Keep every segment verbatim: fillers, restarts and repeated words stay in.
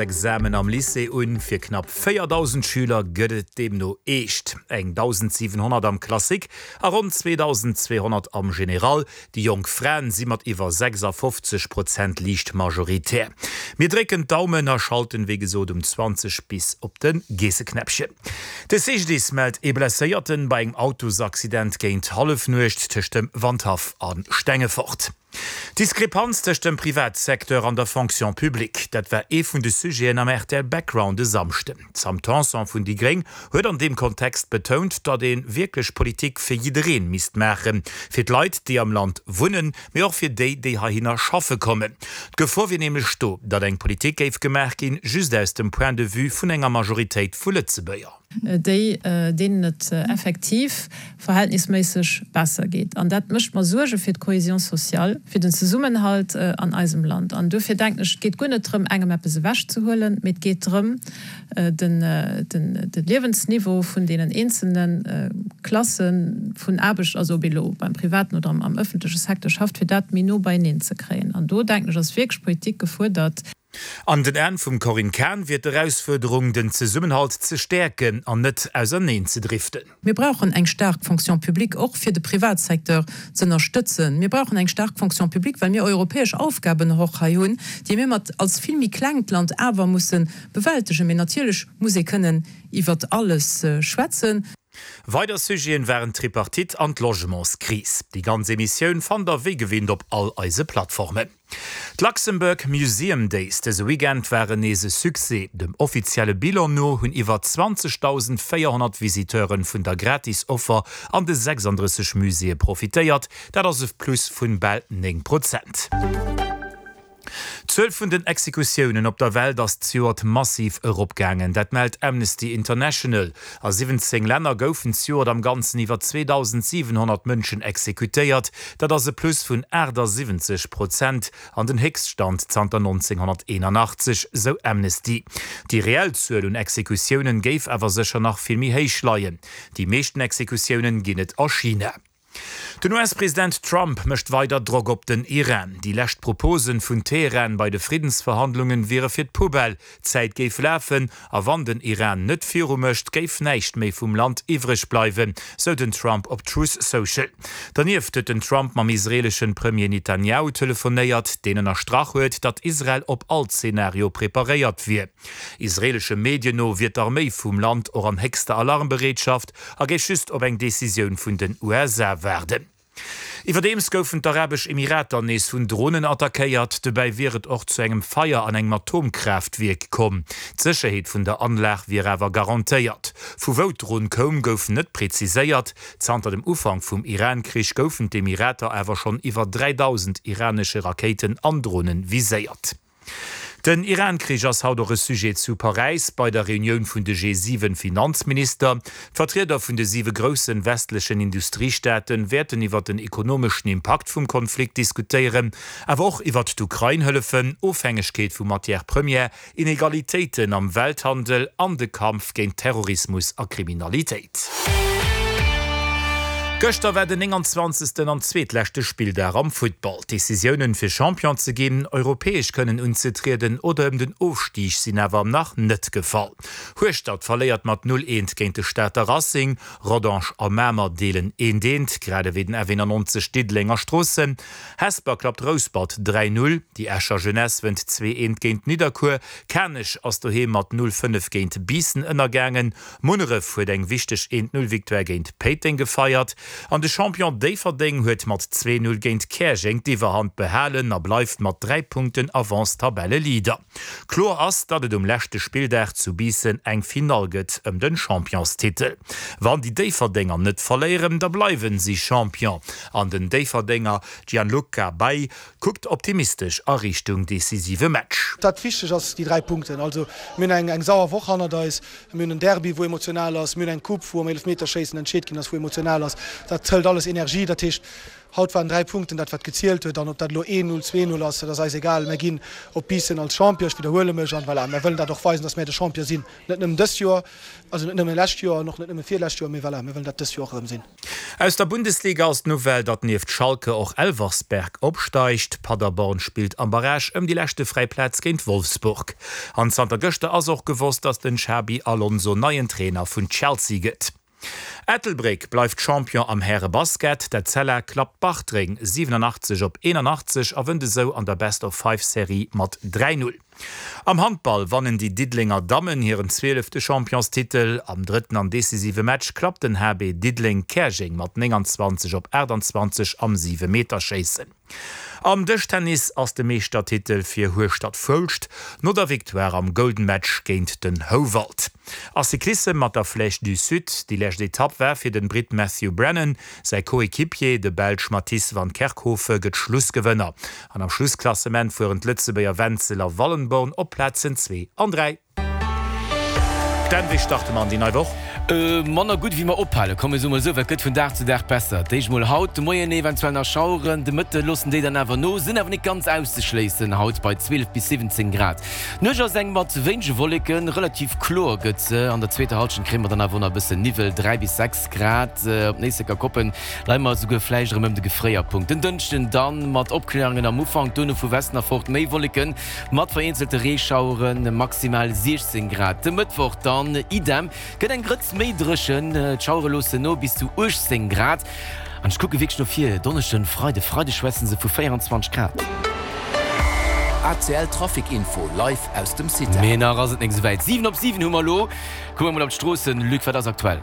Examen am Lycée un. Fir knapp véierdausend Schüler gëtt et deemno eescht. Eng dausendsiwenhonnert am Classique a ronn zweedausendzweehonnert am General. Déi jonk Fraen si mat iwwer sechsafofzeg Prozent liicht majoritär. Mir drécken d'Daumen a schalten wéi gesot um zwanzeg bis op de Geesseknäppchen. De C G D I S mellt ee Blesséierten bei engem Autosaccident géint Hallefnuecht tëscht dem Wandhaff a Stengefort. D'Diskrepanz tëscht dem Privatsecteur an der Fonction publique, dat war ee vun de Sujeten am R T L Background e Samschden. D'Sam Tanson vun déi Gréng huet an deem Kontext betount, datt ee wierklech Politik fir jidderee misst maachen, fir d'Leit, déi am Land wunnen, mee och fir déi, déi heihinner schaffe kommen. D'Gefor wier nämlech do, datt eng Politik géif gemaach ginn, just aus dem Point de vue vun enger Majoritéit vu Lëtzebuerger. Déi deenen et effektiv verhältnisméisseg besser geet. An dat mécht mer Suerge fir d'Cohésion sociale, fir den Zesummenhalt an eisem Land. An dofir denken ech, et geet guer net drëm, engem eppes ewechzehuelen, mee et geet drëm, den de Liewensniveau vun deenen eenzelne Klasse vun Aarbecht, also ob ee lo beim privaten oder am ëffentleche Secteur schafft, fir dat méi no beieneen ze kréien. An do denken ech, ass wierklech Politik gefuerdert. An den Aen vum Corinne Cahen wier d'Erausfuerderung, den Zesummenhalt ze stäerken an net auserneen ze driften. Mir brauchen eng staark Fonction publique, och fir de Privatsecteur ze ënnerstëtzen. Mir brauchen eng staark Fonction publique, well mir europäesch Aufgaben och hei hunn, déi mir mat als vill méi klengt Land awer musse bewältegen. Mee natierlech muss ee kënnen iwwert alles schwätzen. Weider Sujeten waren d'Tripartite an d'Logementskris. Déi ganz Emissioun fannt der wéi gewinnt op all eise Plattformen. D'Luxembourg Museum Days dëse Weekend waren nees e Succès. Dem offizielle Bilan no hunn iwwer zwanzegdausendvéierhonnert Visiteure vun der Gratis-Offer an de sechsanddrësseg Muséeë profitéiert. Dat ass e Plus vun bal néng Prozent. D'Zuel vun den Exekutiounen op der Welt ass zejoert massiv eropgaangen, dat mellt Amnesty International. A siwwenzéng Länner goufen zejoert am Ganzen iwwer zweedausendsiwenhonnert Mënschen exekutéiert, dat ass e Plus vun aachtasiwwenzeg Prozent an den Héchststand zanter nonzénghonnerteenanachtzeg, sou Amnesty. Déi reell Zuel un Exekutiounen géif awer sécher nach vill méi héich leien. Déi meeschten Exekutiounen ginn et a China. Den U S-President Trump mécht weider Drock op den Iran. Déi lescht Proposen vun Teheran bei de Friddensverhandlungen wiere fir d'Poubelle. D'Zäit géif lafen, a wann den Iran net viru mécht, géif näischt méi vum Land iwwreg bleiwen, sou den Trump op Truth Social. Dernieft huet den Trump mam israeeleschen Premier Netanjahu telefonéiert, deen ënnerstrach huet, datt Israel op all Zenario preparéiert wier. Israeelesche Medien no wier d'Arméi vum Land och an héchster Alarmbereetschaft a géif just op eng Decisioun vun den U S A waarden. Iwwerdeems goufen d'Arabesch Emirater nees vun Dronen attackéiert. Dobäi wier et och zu engem Feier an engem Atomkraaftwierk komm. D'Sécherheet vun der Anlag wier awer garantéiert. Vu wou d'Dron koum, gouf net preziséiert. Zanter dem Ufank vum Iran-Krich goufen d'Emirater awer schonn iwwer dräidausend iranesche Rakéiten an Dronen viséiert. Den Iran-Krich ass haut och e Sujet zu Paräis bei der Reunioun vun de G siwen Finanzminister. D'Vertrieder vun de siwe grousse westlechen Industriestaate wäerten iwwer den ekonomeschen Impakt vum Konflikt diskutéieren, awer och iwwer d'Ukrain-Hëllefen, Ofhängegkeet vu Matières premières, Inegalitéiten am Welthandel an de Kampf géint Terrorismus a Kriminalitéit. Gëschter war den nénganzwanzegsten an zweetleschte Spilldag am Futtball. D'Decisiounen, fir Champion ze ginn, europäesch kënnen unzetrieden oder ëm den Ofstig sinn awer nach net gefall. Hueschtert verléiert mat null eent géint de Stater Racing, Rodange a Mamer deelen eent eent, grad ewéi den F eenannonzeg Diddeleng a Stroossen. Hesper klappt Rouspert dräi null, déi Escher Jeunesse wënnt zwee eent géint Nidderkuer, Kanech ass doheem mat null fënnef géint Biissen ënnergaangen, Munneref huet eng wichteg eent null Victoire géint Péiteng gefeiert. An de Champion Déifferdeng huet mat zwee null géint Käerjeng d'Iwwerhand behalen a bleift mat dräi Punkten Avance Tabelleleader. Kloer ass, datt et um leschte Spilldag zu Biissen eng Finall gëtt ëm de Championstitel. Wann déi Déifferdenger net verléieren, da bleiwen si Champion. An den Déifferdenger Gianluca Bay kuckt optimistesch a Richtung decisive Match. Dat Wichtegt ass déi dräi Punkten. Also mir hunn eng eng sauer Woch hannert eis, mir hunn en Derby wou emotional ass, mir hunn eng Coupe wou am Eelefmeterschéissen entscheet ginn ass, wou emotional ass. Dat hëlt alles Energie. Dat heescht, haut waren dräi Punkten dat, wat gezielt huet. An ob dat elo een Null, zwee Null ass, dat ass eis egal. Mir ginn op Biissen als Champion, ech widderhuele mech, an voilà, mir wëllen dat och weisen, dass mir de Champion sinn. Net nëmmen dëst Joer, also net nëmmen lescht Joer an och net nëmmen virlescht Joer, mee voilà, mir wëllen dat dëst Joer och erëm sinn. Aus der Bundesliga ass d'Nouvelle, datt nieft Schalke och Elversberg opsteigt. Paderborn spillt am Barrage ëm déi leschte fräi Plaz géint Wolfsburg. An zanter gëschter ass och gewosst, datt den Xabi Alonso neien Trainer vun Chelsea gëtt. Ettelbréck bleift Champion am Häre-Basket. D'Etzella klappt Bartreng siwenanachtzeg op eenanachtzeg a wënnt esou an der Best-of-Five-Serie mat dräi Null. Am Handball wannen déi Diddelenger Dammen hiren zwielefte Championstitel. Am drëtten an decisive Match klappt den H B Diddeleng Käerjeng mat nénganzwanzeg op aachtanzwanzeg am Siwemeterschéissen. Am Dëschtennis ass de Meeschtertitel fir Hueschtert-Foulscht no der Victoire am Golden Match géint den Houwald. A Cyclissem mat der Flèche du Sud, déi lescht Etapp war fir den Britt Matthew Brennan, säi Coequipier, de Belsch Matisse Van Kerckhove gëtt Schlussgewënner. An am Schlussklassement fueren d'Lëtzebuerger Wenzel a Wallenborn op Plazen zwee an dräi. Dan, wéi starte mer an déi nei Woch? Manner gutt wéi mer ophalen, komm mir soe mol esou, well et gëtt vun Dag zu Dag besser. D'éischt mol haut de Moien eventuell nach Schaueren, de Mëtte loossen déi dann awer no, sinn awer net ganz auszeschléissen haut bei zwielef bis siwwenzéng Grad. D'Nuecht ass eng mat wéinege Wolleken, relativ kloer gëtt se. An der zweeter Hallschent kréie mer dann awer och nach e bëssen Niwwel, dräi bis sechs Grad. Op Néisseker Koppen leie mer esouguer vläicht erëm ëm de Gefréierpunkt. Den Dënschden dann mat Opkläerungen am Ufank, dono vu Westen erfort méi Wolleken mat vereenzelte Reeschaueren, maximal siechzéng Grad. De Mëttwoch dann idem, gëtt eng Grëtz méi dréchen, d'Schauere loossen no, bis zu uechtzéng Grad. An ech kucke wierklech no vir, Donneschden, Freide, Freide schwätze se vu véierundzwanzeg Grad. A C L Trafic Info live aus dem CITA. Mee nach ass et nek esouwäit. Siwen op siwen hu mer elo. Kucke mer mol op d'Stroossen. Luc, wat ass aktuell?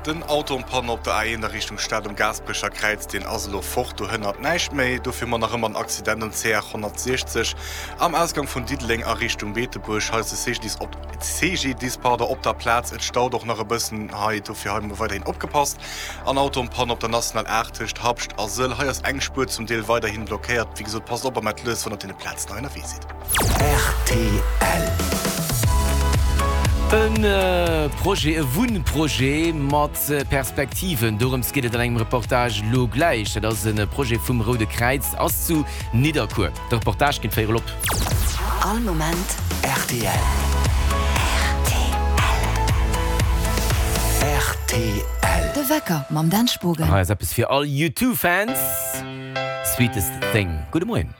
Den Auto en panne op der A eent a Richtung Stad um Gaasperecher Kräiz, deen ass elo fort, do hënnert näischt méi. Dofir hu mer nach ëmmer en Accident um C R honnertsiechzeg am Ausgang vun Diddeleng a Richtung Beetebuerg. Hei ass de C G D I S op C G D I S pardon, op der Plaz. Et staut och nach e bëssen hei, dofir hei mol weiderhin opgepasst. An Auto en panne op der National aacht tëscht Habscht a Sëll. Hei ass eng Spuer zum Deel weiderhin blockéiert. Wéi gesot, passt op a maacht lues, wann der op deene Plazen hei ënnerwee sidd. R T L. E Projet, e Wunnprojet mat Perspektiven, dorëms geet et an engem Reportage lo gläich. Dat ass e Projet vum Roude Kräiz, ass zu Nidderkuer. De Reportage géint véierel op. All Moment R T L. R T L. De Wecker mam Dan Spogen. Hei ass eppes fir all U two Fans, Sweetest Thing. Gudde Moien.